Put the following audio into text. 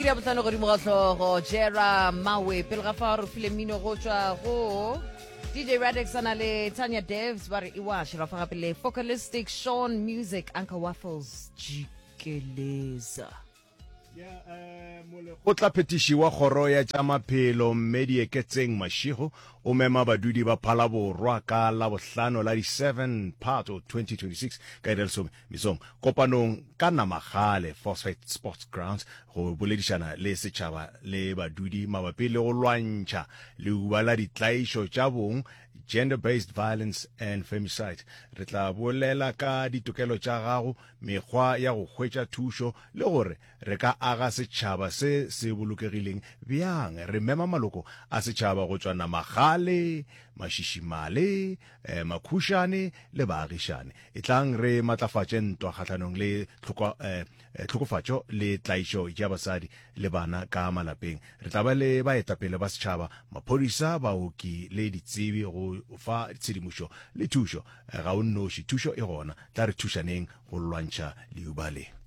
Ke ya botlhano godimo ga hlogo Jera Mawe pele ga fa re file mmino go tšwa go DJ Radix a na le Tanya Devs ba re iwash ra fa gape le Focalistic Sean Music Uncle Waffles Jikeleza. Molekgotlaphethiši wa Kgoro ya tša Maphelo Mme Dieketseng Mashego o mema badudi ba Phalaborwa ka Labohlano la di 7 Phato 2026 ka iri ya lesome mesong kopanong ka Namagale Phosphate Sports Grounds go boledišana le setšhaba le badudi mabapi le go lwantšha leuba la ditlaišo tša bong, Gender Based Violence and Femicide. Re tla bolela ka ditokelo tša gago, mekgwa ya go hwetša thušo le gore re ka aga setšhaba se se bolokegileng bjang. Re mema maloko a setšhaba go tšwa Namagale, Mašišimale, eh, Makhušane le baagišane. Etlang re matlafatše ntwa kgahlanong le tlhoko, eh, eh, tlhokofatšo le tlaišo ya basadi le bana ka malapeng. Re tla ba le baetapele ba setšhaba, maphodisa, baoki le ditsebi go fa tshedimošo le thušo. Eh, ga o nnoši, thušo e gona. Tla re thušaneng go lwantšha leuba le.